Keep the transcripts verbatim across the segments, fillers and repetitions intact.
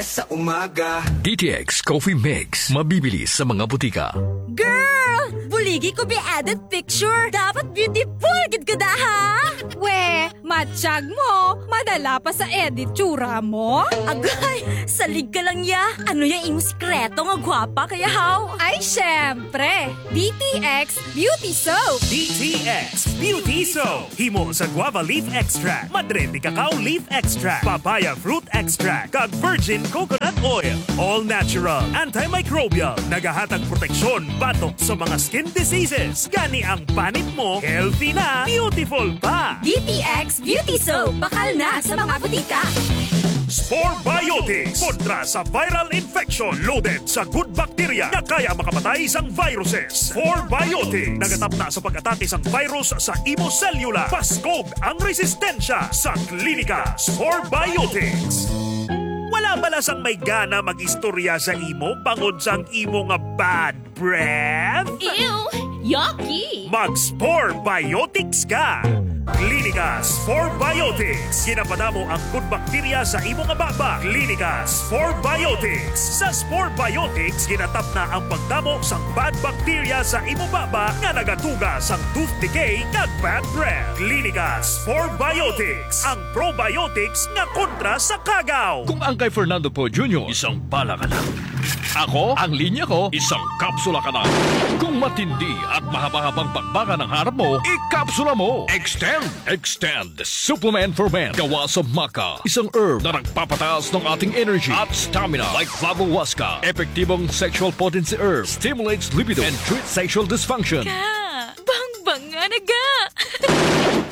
Sa umaga. D T X Coffee Mix, mabibili sa mga butika. Girl! Buligi ko bi-edit picture. Dapat beautiful gid ka da, ha? We, matsyag mo. Madala pa sa edit tsura mo. Agay, salig ka lang ya. Ano ya imo sikreto nga gwapa kaya, haw? Ay, syempre. D T X Beauty Soap. D T X Beauty Soap. Himo sa guava leaf extract, madre de cacao leaf extract, papaya fruit extract, kag virgin coconut oil. All natural, antimicrobial, nagahatag proteksyon batok sa mga skin diseases. Gani ang panit mo, healthy na, beautiful pa. D T X Beauty Soap, bakal na sa mga butika. Spore Biotics, kontra sa viral infection, loaded sa good bacteria nga kaya makapatay sang viruses. Spore Biotics, nagatapna sa pag-atake sang virus sa imo selula. Paskog ang resistensya sa klinika. Spore Biotics. Wala bala sang may gana mag-istorya sa imo bangod sang imo nga bad breath? Ew! Yucky! Mag-Spore Biotics ka! Klinika Spore Biotics. Ginapadamo ang good bacteria sa imo nga baba. Klinika Spore Biotics. Sa Spore Biotics, ginatapna ang pagdamo sang bad bacteria sa imo baba nga nagatuga sang tooth decay kag bad breath. Klinika Spore Biotics, ang probiotics nga kontra sa kagaw. Kung ang kay Fernando Poe Junior, isang bala ka na. Ako, ang linya ko, isang kapsula ka na. Kung matindi at mahaba-habang bakbakan ang harap mo, ikapsula mo. Extend, Extend Supplement for Men. Gawa sa maca, isang herb na nagpapataas ng ating energy at stamina. Like Flavo Huasca, epektibong sexual potency herb, stimulates libido, and treats sexual dysfunction. Ka, bangbanga na ga.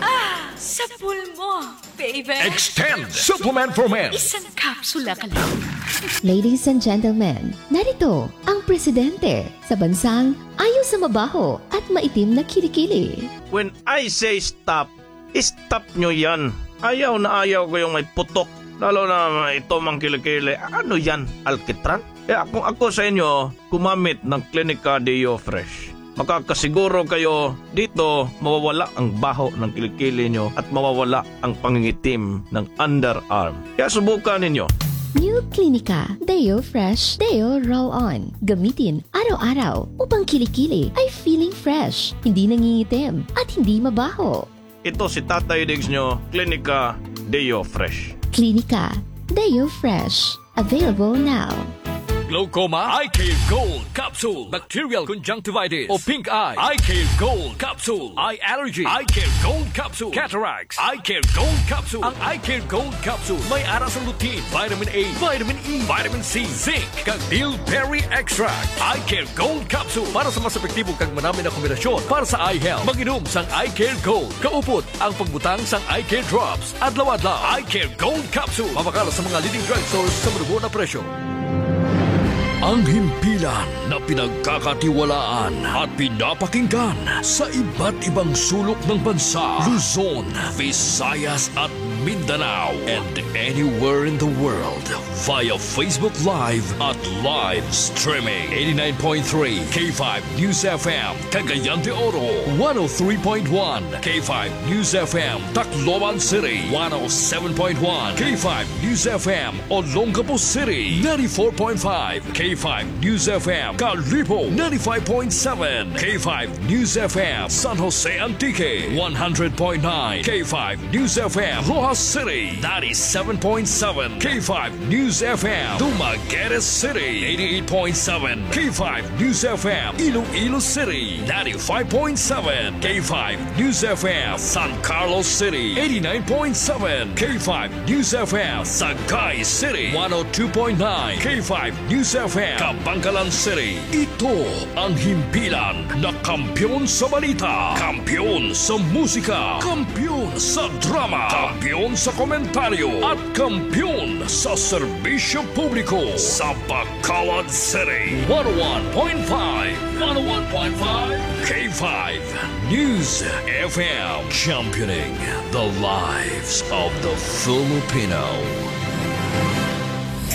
Ah, sa pulmo, baby. Extend Supplement for Men. Isang kapsula ka lang. Ladies and gentlemen, narito ang presidente sa bansang ayaw sa mabaho at maitim na kilikili. When I say stop, stop nyo yan. Ayaw na ayaw ko yung may putok. Lalo na ito mang kilikili. Ano yan? Alkitran? Kaya kung ako sa inyo, gumamit ng Clinica Deo Fresh. Makakasiguro kayo dito mawawala ang baho ng kilikili nyo at mawawala ang pangingitim ng underarm. Kaya subukan ninyo. New Clinica Deo Fresh Deo Roll On. Gamitin araw-araw upang kilikili ay feeling fresh, hindi nangingitim, at hindi mabaho. Ito si Tatay Diggs nyo, Clinica Deo Fresh. Clinica Deo Fresh. Available now. Glaucoma, Eye Care Gold Capsule. Bacterial conjunctivitis o pink eye, Eye Care Gold Capsule. Eye allergy, Eye Care Gold Capsule. Cataracts, Eye Care Gold Capsule. Ang Eye Care Gold Capsule may ara sang lutein, vitamin A, vitamin E, vitamin C, zinc, kag bilberry extract. Eye Care Gold Capsule para sa mas epektibo kag manami na kombinasyon para sa eye health. Mag-inom sang Eye Care Gold. Kaupod ang pagbutang sang Eye Care Drops adlaw-adlaw. Eye Care Gold Capsule, mabakal sa mga leading drugstores sa manubo na presyo. Ang himpilan na pinagkakatiwalaan at pinapakinggan sa iba't ibang sulok ng bansa, Luzon, Visayas at Mindanao, and anywhere in the world via Facebook Live at live streaming. Eighty-nine point three K five News F M, Cagayan de Oro, one oh three point one K five News F M, Tacloban City, one oh seven point one K five News F M, Olongapo City, ninety-four point five K five News F M, Kalibo, ninety-five point seven K five News F M, San Jose Antique, one hundred point nine K five News F M, Roxas City, ninety-seven point seven K five News F M, Dumaguete City, eighty-eight point seven K five News F M, Iloilo City, ninety-five point seven K five News F M, San Carlos City, eighty-nine point seven K five News F M, Sagay City, one oh two point nine K five News F M, Kabankalan City. Ito ang himpilan na kampiyon sa balita, kampiyon sa musika, kampiyon sa drama, kampiyon sa komentaryo, at kampiyon sa serbisyo publiko sa Bacolod City. One oh one point five, one oh one point five K five News F M, championing the lives of the Filipino.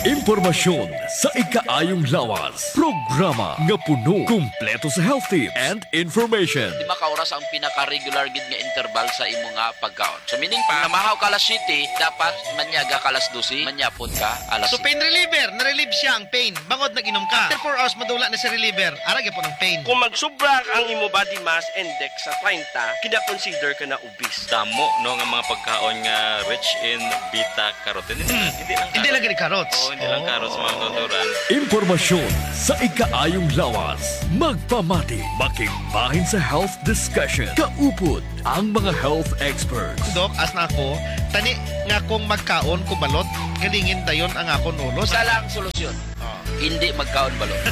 Impormasyon sa ikaayong lawas. Programa nga puno, kumpleto sa health tips and information. Di ba ka oras ang pinaka-regular gid nga interval sa imo nga pagkaon? So, meaning pa, namahaw ka alas siyete, dapat manyaga ka alas dose, manyapon ka alas So, siyete. Pain reliever, na-relieve siya ang pain. Bangod nag-inom ka. After four hours, madula na si reliever. Ara gyapon ang pain. Kung magsubra ang imo body mass index sa treinta, kina-consider ka na obese. Damo, no, nga mga pagkaon nga rich in beta carotene. Hindi lang Hindi lang carrots. Gani carrots. Oo, hindi lang carrots, mga kauturan. Impormasyon sa ikaayong lawas. Magpamati, makigbahin sa health discussion. Kaupod ang mga health experts. Dok, as na ako, tani nga kung magkaon ko balot, galingin dayon ang akon ulo. Isa lang solusyon. Ah. Hindi magkaon balot.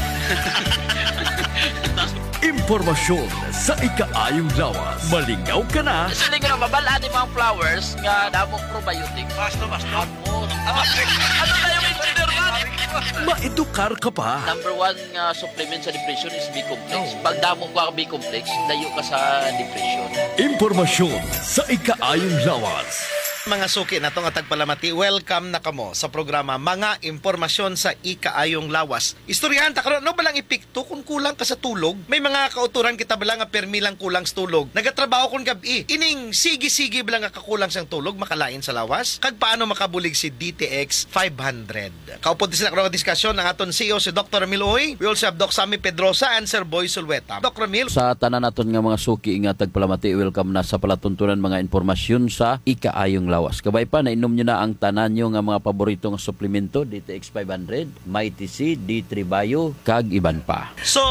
Impormasyon sa ikaayong lawas. Malingaw ka na. Siling ra, mabal-an ni mga flowers nga damo probiotics. Basta, basta. Amo. Ano na yung engineer, man? Maedukar ka pa. Number one nga supplement sa depression is B-complex. No. Pag damo ka B-complex, layo ka sa depression. Impormasyon sa ikaayong lawas. Mga suki nato nga tagpalamati, welcome na kamo sa programa Mga Impormasyon sa Ikaayong Lawas. Istoryahan ta karon, ano ba lang epekto kung kulang ka sa tulog? May mga kauturan kita bala nga permi lang kulang sa tulog. Nagatrabaho kon gab-i. Ining sige-sige bala nga kakulang sang tulog makalain sa lawas? Kag paano makabulig si D T X five hundred? Kaupod sila karon nga diskusyon ang aton C E O, si Doktor Ramil Uy. We also have Doc Sammy Pedrosa and Sir Boy Sulweta. Doc Ramil. Sa tanan naton nga mga suki nga tagpalamati, welcome na sa palatuntunan mga impormasyon sa ikaayong lawas. Kabay pa, nainom nyo na ang tanan nyo nga mga paborito nga suplemento, D T X five hundred, Mighty C, D three Bio, kag iban pa. So,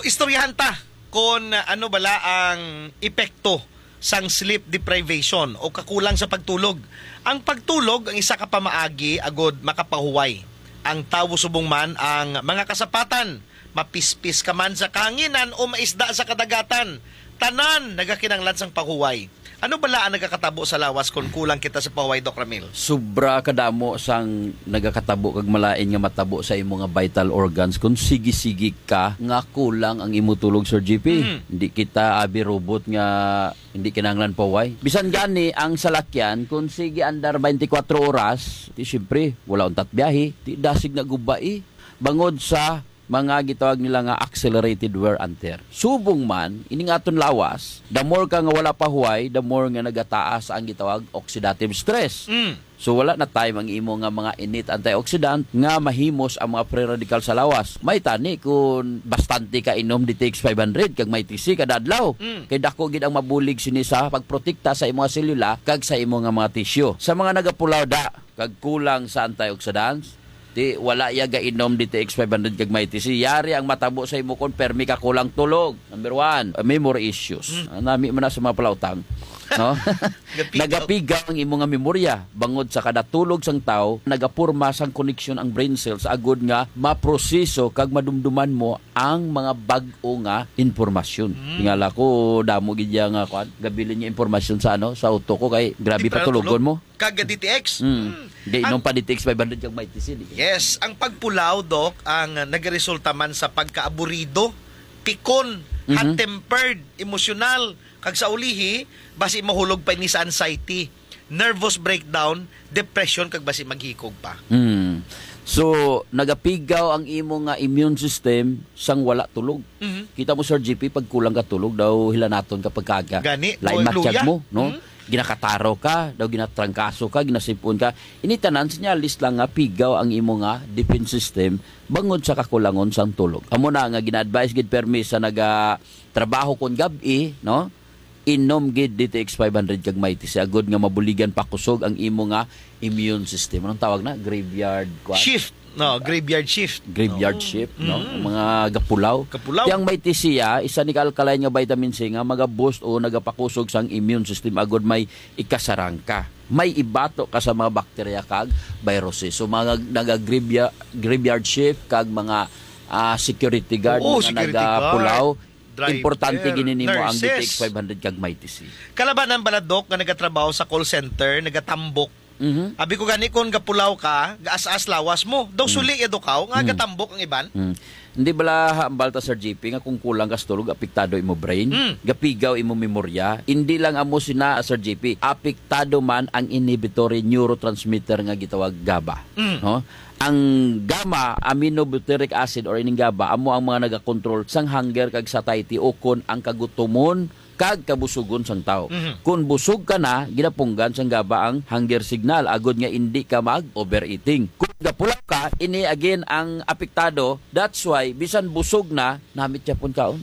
istoryahan ta kon ano bala ang epekto sang sleep deprivation o kakulang sa pagtulog. Ang pagtulog ang isa ka pamaagi agud makapahuway ang tawo, subong man ang mga kasapatan, mapispis ka man sa kahanginan o maisda sa kadagatan, tanan nagakinahanglan sang pahuway. Ano bala ang nagakatabo sa lawas kon kulang kita sa pahuway, Doc Ramil? Sobra kadamo sang nagakatabo kag malain nga matabo sa imo nga vital organs kon sige-sige ka nga kulang ang imo tulog, Sir G P. Mhm. Hindi kita abi robot nga hindi kinahanglan pahuway. Bisan gani ang salakyan, kung sige andar twenty-four oras, di siyempre, wala untat biyahe, di dasig na gubai. Bangod sa mga gitawag nila nga accelerated wear and tear. Subong man, ining aton lawas, the more ka nga wala pahuway, the more nga nagataas ang gitawag oxidative stress. Mm. So, wala na time ang imo nga mga innate antioxidant nga mahimos ang mga free radical sa lawas. May tani kung bastante ka inom D T X five hundred kag Mighty C kada adlaw. Mm. Kay dako gid ang mabulig sini sa pagprotekta sa imo nga selula kag sa imo nga mga tissue. Sa mga nagapulaw da kag kulang sa antioxidants, di wala ya gainom D T X five hundred kag Mighty C. Yari ang matabo sa imo kon permi ka kulang tulog. Number one, uh, memory issues. Mm. Ah, nami man na sa mga palautang. No? Gapigaw. Nagapigaw ang imo nga memorya. Bangod sa kada tulog sang tawo, nagapurma sang koneksyon ang brain cells agud nga maproseso kag madumduman mo ang mga bag-o nga impormasyon. Mm. Tingala ko, damo gid ya nga, kwan, gabilin nga impormasyon sa, ano, sa utok ko kay grabe. Di pa patulogon tulog mo. Kag D T X. Mm. Mm. Di, inom pa D T X five hundred kag Mighty C, di. Yes, ang pagpulaw, Doc, ang nagaresulta man sa pagkaaburido, pikon, Mhm. hot-tempered, emosyonal, kag sa ulihi, basi mahulog pa ini sa anxiety, nervous breakdown, depression, kag basi maghikog pa. Mm. So, nagapigaw ang imo nga immune system sang wala tulog. Mhm. Kita mo, Sir G P, pag kulang ka tulog, daw hilanaton ka pagkaaga. Gani, lain mo, matyag luya. Mo, no? Mhm. Ginakataro ka, daw ginatrangkaso ka, ginasipon ka. Ini tanan, sinyalis lang nga pigaw ang imo nga defense system bangod sa kakulangon sang tulog. Amo na nga gina-advise gid permi sa naga trabaho kon gab-i, no? Inom gid D T X five hundred kag Mighty C agud nga mabuligan pakusog ang imo nga immune system. Anong tawag na? Graveyard, kwan? Shift. No, graveyard shift. Graveyard Oo. Shift, no? Mm. Ang mga gapulaw. Gapulaw. Ti ang Mighty C, ah, isa ni ka alkaline nga vitamin C nga maga-boost o nagapakusog sang immune system agud may ikasarang ka. May ibato ka sa mga bakterya kag viruses. So, mga naga-graveyard, graveyard shift kag mga, ah, security guard, Oo, mga security nagapulaw, guard. Driver, importante gid nimo ang nurses. D T X five hundred kag Mighty C. Kalabanan bala, Doc, nga nagatrabaho sa call center, nagatambok, Mhm. Abi ko gani, kung gapulaw ka, gaas-as lawas mo. Daw Mm. suli ya do kaw, nga Mm. gatambok ang iban. Mm. Hindi bala hambal ta, Sir G P, nga kung kulang ka sa tulog, apektado imo brain? Mm. Gapigaw imo memorya? Hindi lang amo sina, Sir G P. Apektado man ang inhibitory neurotransmitter nga gitawag gaba. Mm. No? Ang gamma aminobutyric acid or ining gaba amo ang mga nagakontrol sang hunger kag satiety o kon ang kagutomon kag kabusugon sang tawo. Mhm. Kon busog ka na, ginapunggan sang gaba ang hunger signal agod nga indi ka mag-overeating. Kon gapulaw ka, ini again ang apektado. That's why bisan busog na, namit siya pun kaon.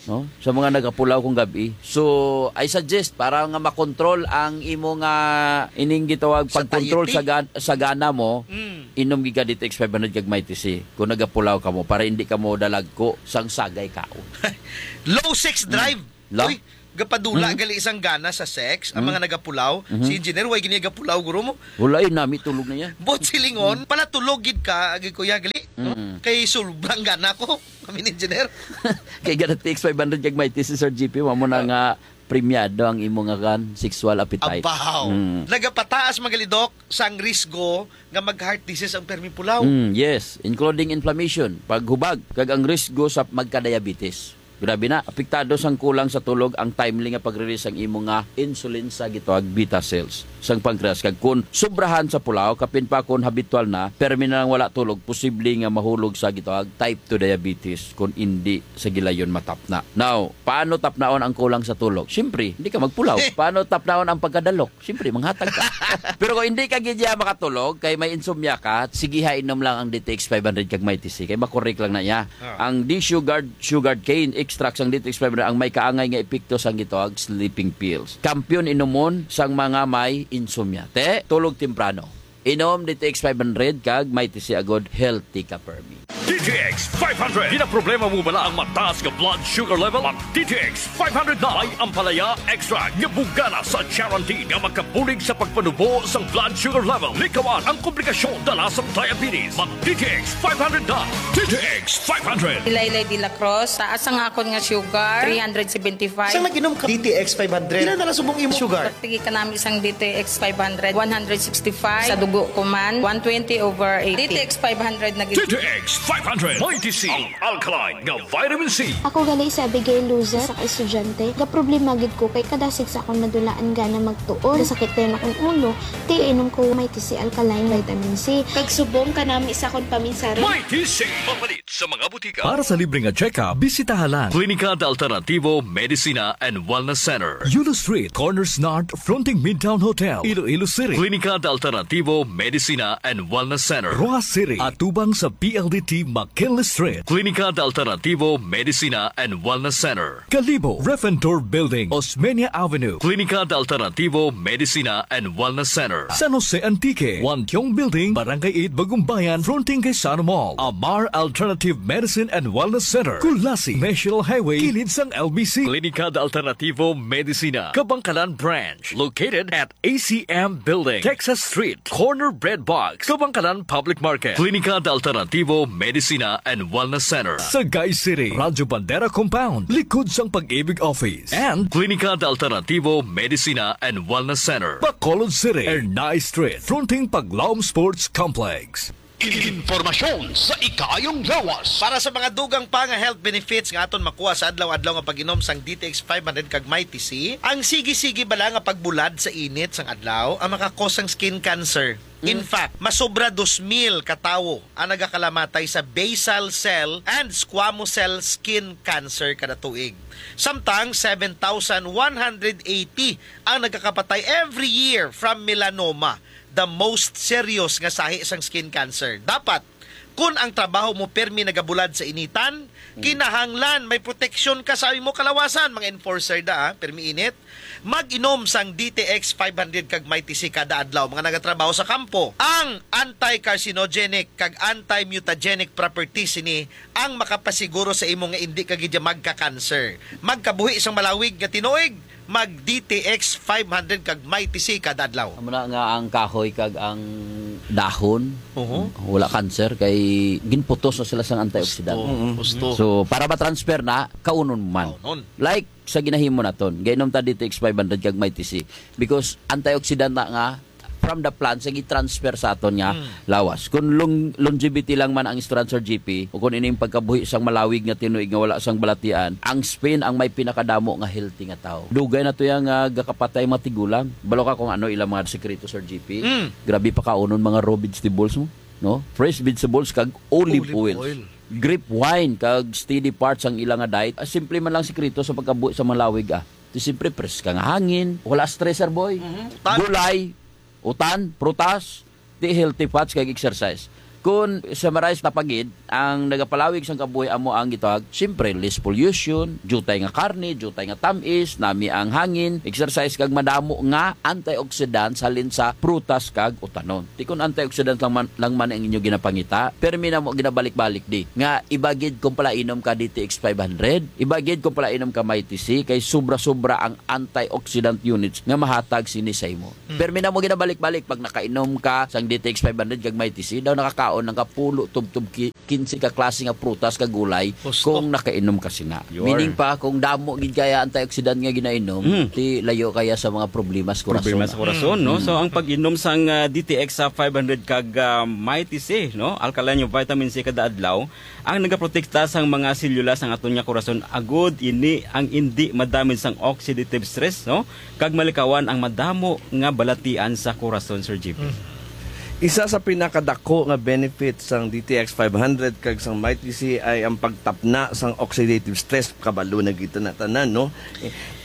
No? Sa mga nagapulaw kung gabi. So, I suggest para nga makontrol ang imo nga ining gitawag pagkontrol sa Satiety. gan-, sa gana mo, Mm. inom gid ka D T X five hundred kag Mighty C. Kung nagapulaw ka mo para hindi ka mo dalagko sang sagay kaon. Low sex Mm. drive. La? Uy, gapadula Mm. gali isang gana sa sex ang Mm. mga nagapulaw. Mhm. Si engineer, way gini gapulaw, guro mo? Wala, eh, nami tulog na yan. Bot silingon, Mm. pala tulog gid ka, agi ko ya gali, no? Mm. Kay sobrang gana ko, kami ni engineer. Kay gana T X five hundred kag Mighty C, Sir G P, mamo na Ah. nga premiado ang imo nga kan sexual appetite. Abaw. Mm. Nagapataas, magalidok, sang risgo nga mag-heart disease ang permi pulaw. Mm, yes, including inflammation, paghubag, kag ang risgo sa magka-diabetes. Grabe na, apektado sang kulang sa tulog ang timely nga pag-release sang imo nga insulin sa gitawag beta cells sang pancreas. Kag kun sobrahan sa pulaw, kapin pa kun habitual na, permi na lang wala tulog, posible nga mahulog sa gitawag type two diabetes kun indi sa gilayon matapna. Now, paano tapnaon ang kulang sa tulog? Siyempre, hindi ka magpulaw. Paano tapnaon ang pagkadalok? Siyempre, manghatag ka. Pero kung hindi ka gid ya makatulog, kay may insomnia ka, sige ha, inom lang ang D T X five hundred kag Mighty C. Kay makorek lang na niya. Ah. Ang D-Sugard, Sugard Cane Extract sang D T X five hundred ang may kaangay nga epekto sang gitawag sleeping pills. Kampiyon inumon sang mga may insomnia. Te, tulog temprano. Inom D T X five hundred kag Mighty C agod healthy ka permi. D T X five hundred. Ginaproblema mo bala ang mataas nga blood sugar level? Mag D T X five hundred na. May ampalaya extract nga bugana sa charantin nga makabulig sa pagpanubo sang blood sugar level. Likawan ang komplikasyon dala sang diabetes. Mag D T X five hundred na. D T X five hundred. Ilaylay de la Cruz, taas ang akon nga sugar, three hundred seventy-five. Sang nag-inom ka D T X five hundred, pila na lang subong imong sugar? Sige ka nami sang D T X five hundred, one hundred sixty-five. Sa dugo ko man, one twenty over eighty. D T X five hundred na gid. D T X five hundred, Mighty C, ang alkaline nga vitamin C. Ako gali si Abigail Luzon, isa ka estudyante. Gaproblema gid ko kay kada six akong madulaan gana magtuon. Nasakit dayon akong ulo, kay inom ko Mighty C alkaline vitamin C. Kag subong kanami sa akong paminsaron. Mighty C, mapalit sa mga butika. Para sa libre nga check-up, bisitaha lang Klinika de Alternativo Medicina and Wellness Center, Yulo Street, Corners North, fronting Midtown Hotel, Iloilo City. Klinika de Alternativo Medicina and Wellness Center, Roxas City, atubang sa P L D T McKinley Street. Klinika de Alternativo Medicina and Wellness Center, Kalibo, Ref and Tour Building, Osmeña Avenue. Klinika de Alternativo Medicina and Wellness Center, San Jose Antique, Wantiong Building, Barangay eight, Bagumbayan, fronting kay Sano Mall. Amar Alternative Medicine and Wellness Center, Culasi, National Highway, kilid sang L B C. Klinika de Alternativo Medicina, Kabangkalan Branch, located at A C M Building, Texas Street, corner Bread Box, Kabangkalan Public Market. Klinika de Alternativo Medicina and Wellness Center, Sagay City, Radyo Bandera Compound, likod sang Pag-ibig Office, and Klinika de Alternativo Medicina and Wellness Center, Bacolod City, Ernai Street, fronting Paglaom Sports Complex. Impormasyon sa ikaayong lawas. Para sa mga dugang pa nga health benefits nga aton makuha sa adlaw-adlaw nga pag-inom sang D T X five hundred kag Mighty C, ang sige-sige bala nga pagbulad sa init sang adlaw ang makakos sang skin cancer. In Mm. fact, masobra dos mil ka tawo ang nagakalamatay sa basal cell and squamous cell skin cancer kada tuig. Samtang seven thousand one hundred eighty ang nagakapatay every year from melanoma, the most serious nga sahi sang skin cancer. Dapat, kun ang trabaho mo permi nagabulad sa initan, Mm. kinahanglan may proteksyon ka sa imo kalawasan, mga enforcer da, ah, permi init. Mag-inom sang D T X five hundred kag Mighty C kada adlaw, mga nagatrabaho sa kampo. Ang anti-carcinogenic kag anti-mutagenic properties sini ang makapasiguro sa imo nga indi ka gid magka-cancer. Magkabuhi sang malawig nga tinuig, mag D T X five hundred kag Mighty C kada adlaw. Amo na nga ang kahoy kag ang dahon, Oho. wala cancer kay ginputos na sila sang antioxidant. Gusto. Mm-mm. Gusto. So, para ma-transfer na, kaunon man. Kaunon. Like sa ginahimo naton, gainom ta D T X five hundred kag Mighty C because antioxidant na nga from the plant, sa gi-transfer sa aton nga Mm. lawas. Kung long-, longevity lang man ang istorya, Sir G P, o kung ining pagkabuhi sang malawig nga tinuig nga wala sang balatian, ang Spain ang may pinakadamo nga healthy nga tao. Dugay na to yang, ah, gakapatay mga tigulang. Balo ka kung ano ilang mga sikreto, Sir G P? Mm. Grabe pa kaunon mga raw vegetables mo, no? Fresh vegetables kag olive Olive oil. oil. Grape wine kag steady parts ang ilang nga diet. Ah, simple man lang sikreto sa pagkabuhi sa malawig, ah. Di siyempre, preska nga hangin, wala stress, sir boy. Mhm. Tan- Gulay, utan, prutas, di healthy fats kag exercise. Kung summarize na pagid, ang nagapalawig sang kabuhi amo ang gitawag, siyempre, less pollution, jutay nga karne, jutay nga tamis, nami ang hangin, exercise kag madamo nga antioxidants halin sa prutas kag utanon. Ti kun antioxidant lang man, lang man ang inyo ginapangita, permi na mo ginabalik-balik di nga ibagid kung pala inom ka D T X five hundred, ibagid kung pala inom ka Mighty C, kay sobra-sobra ang antioxidant units nga mahatag sini sa imo. Mm. Permi na mo ginabalik-balik pag nakainom ka sang D T X five hundred kag Mighty C, daw nakakaon ng kapulo tubtob ki-, kinse ka klase nga prutas kag gulay Gusto. kung nakainom ka sina. Yun. Meaning pa, kung damo gid kaya antioxidant nga ginainom, Mm. ti layo kaya sa mga problema sa kurason. Problema sa kurason, no? Mm. So, ang pag-inom sang, ah, D T X sa five hundred kag, ah, Mighty C, no? Alkaline nga vitamin C kada adlaw, ang nagaprotekta sang mga selula sang aton nga kurason, agud ini ang indi madamage sang oxidative stress, no? Kag malikawan ang madamo nga balatian sa kurason, Sir G P. Mm. Isa sa pinakadako nga benefit sang D T X five hundred kag sang Mighty C ay ang pagtapna sang oxidative stress. Kabalo na kita na tanan, no?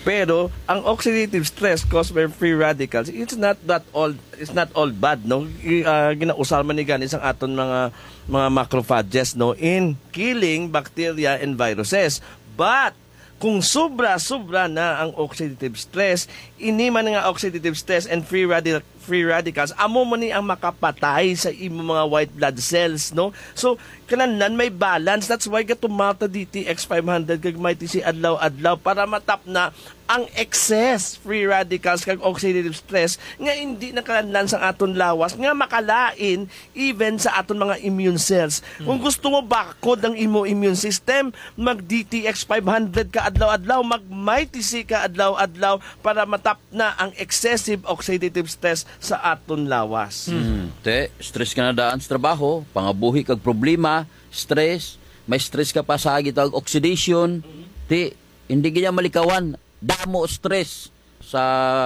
Pero ang oxidative stress caused by free radicals, it's not that all, it's not all bad, no? I-, ah, ginausar man ni gani sang aton mga, mga macrophages, no, in killing bacteria and viruses. But kung sobra-sobra na ang oxidative stress, ini man nga oxidative stress and free radi-, free radicals, amo man ni ang makapatay sa imo mga white blood cells, no? So, kinahanglan may balance. That's why gatumata D T X five hundred kag Mighty C adlaw-adlaw para matapna ang excess free radicals kag oxidative stress nga hindi nakalanlan sa aton lawas nga makalain even sa aton mga immune cells. Hmm. Kung gusto mo bakod ang imo immune system, mag D T X five hundred ka adlaw-adlaw, mag Mighty C ka adlaw-adlaw para matapna ang excessive oxidative stress sa aton lawas. Hmm. Te, stress ka na daan sa trabaho, pangabuhi kag problema, stress, may stress ka pa sa gitawag oxidation, ti, hindi gid yan malikawan. Damo stress sa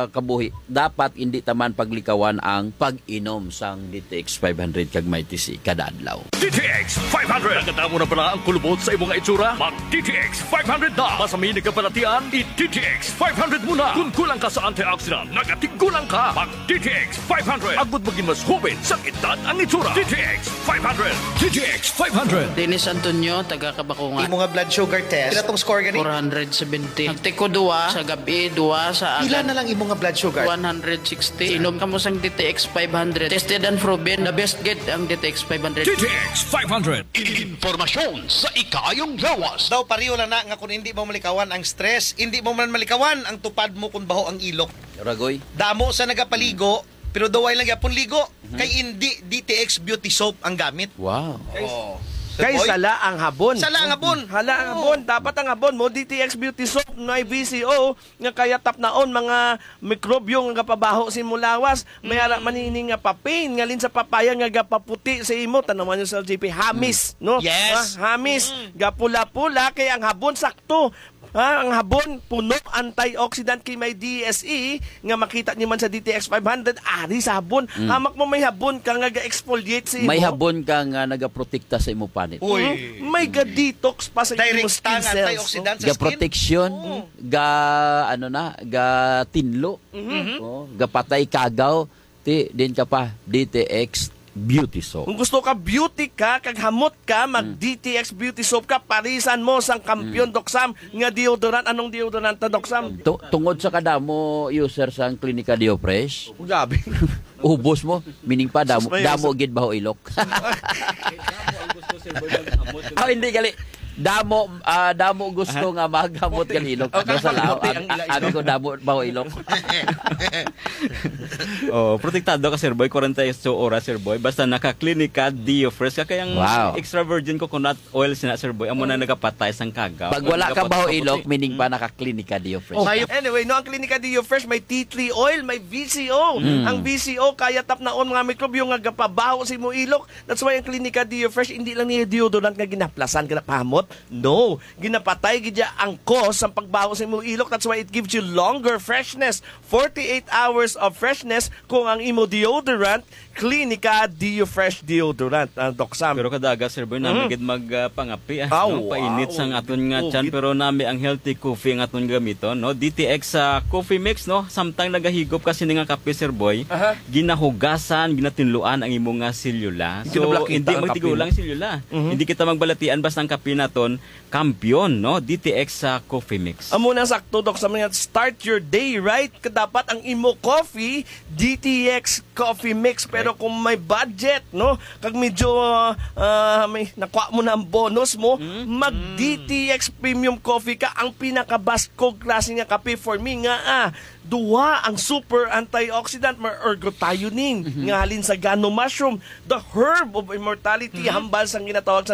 kabuhi. Dapat hindi taman paglikawan ang pag-inom sang D T X five hundred kag Mighty C kada adlaw. D T X five hundred. Nagkadamo na bala ang kulubot sa imong itsura? Mag D T X five hundred na. Basta may nagkabalatian, i-D T X five hundred mo na. Kung kulang ka sa antioxidant, nagatigulang ka. Mag D T X five hundred. Agud maging mas hoben sa edad ang itsura. D T X five hundred. D T X five hundred. Dennis Antonio, taga Kabakungan. Imo nga blood sugar test, pila tong score gani? Four hundred seventy. Nagtiko duwa sa gabi, duwa sa Pila agad. na lang imo nga blood sugar? One hundred sixty. Inom kamo sang D T X five hundred. Tested and proven. The best gid ang D T X five hundred. D T X five hundred. Informasyon sa ikaayong lawas. Daw pareho lang na nga kung hindi mo malikawan ang stress, hindi mo man malikawan ang tupad mo kung baho ang ilok. Ragoy. Damo sa nagapaligo, pero daw ay lang yapon ligo. Mhm. Kay hindi D T X beauty soap ang gamit. Wow. Oh. Kay Boy? sala ang habon. Sala ang habon. Hala ang Oo. habon. Dapat ang habon mo, D T X beauty soap, may V C O, nga kaya tapnaon mga mikrobyo nga gapabaho sa imo lawas. May ara Mm. man ini nga papain, ngalin sa papaya nga gapaputi sa imo. Tanawan niyo, Sir G P, hamis, Mm. no? Yes. Ha? Hamis, Mm. gapula-pula, kay ang habon sakto. Ha? Ang habon, puno antioxidant kay may D S E nga makita niyo man sa D T X five hundred, ari sa habon. Mm. Hamak mo may habon ka nga ga-exfoliate sa imo. May habon ka nga nagaprotekta sa imo panit. Uy. Mm. May ga-detox pa sa imo Direct skin ang cells, no? antioxidant sa skin. Ga-protection, Oo. ga, ano na, ga tinlo. Mhm. Oh, gapatay kagaw, ti, din ka pa, D T X beauty soap. Kung gusto ka beauty ka, kag hamot ka, mag Mm. D T X beauty soap ka, parisan mo sang Kampiyon, Mm. Doc Sam, nga deodorant. Anong deodorant ta, Doc Sam? Tu-, tungod sa kadamo user sang Klinika Deo Fresh, Oh, grabe. ubos mo, meaning pa, damo, Sus, may damo user. gid baho ilok. Oh, hindi, gali. Damo, ah, damo gusto nga magamot kan ilok. Oh, Ano sa kaya lao? maputi Abi, ang ila abi ko, ilok. Damo baho ilok. Oh, protektado ka, Sir Boy, forty-eight oras, Sir Boy. Basta naka-Klinika Dio Fresh ka, kay ang Wow. extra virgin coconut oil sina, Sir Boy, amo na nagapatay sang kagaw. Pag wala ka Nagapatay baho sa ilok, puti. meaning pa naka-Klinika Dio Fresh. Oh, ka. Anyway, no, ang Klinika Dio Fresh may tea tree oil, may V C O. Mm. Ang V C O kaya tapnaon, mga mikrobyo nga gapabaho sa imo ilok. That's why ang Klinika Dio Fresh, hindi lang niya deodorant nga ginaplasan, ginapahamot. No, ginapatay gid niya ang cause sa pagbaho sa imo ilok. That's why it gives you longer freshness, forty-eight hours of freshness kung ang imo deodorant, Klinika Dio Fresh deodorant, ah, Doc Sam. Pero kada aga, Sir Boy, nami Mhm. gid mag, ah, pangapi, ah, Aw, no? Painit wow. sang aton nga Oh, tiyan, gid- pero nami ang healthy coffee ang aton gamiton, no? D T X, ah, coffee mix, no? Samtang nagahigop ka sini nga kape, Sir Boy, Aha. ginahugasan, ginatinluan ang imo nga selula. So, Ginablakita hindi ang kape, magtigulang no? selula. Mhm. Hindi kita magbalatian basta ang kape naton, kampiyon, no? D T X sa coffee mix. Amo na sakto, Doc, sa mga start your day right. Dapat ang imo coffee, D T X coffee mix. Pero Correct. kung may budget, no? Kag medyo, ah, may nakuha mo na ang bonus mo, Mm. mag Mm. D T X premium coffee ka, ang pinakabaskog klase nga kape for me nga, ah, duha ang super antioxidant, may ergothioneine, Mhm. nga halin sa gano mushroom, the herb of immortality, Mhm. hambal sang ginatawag sa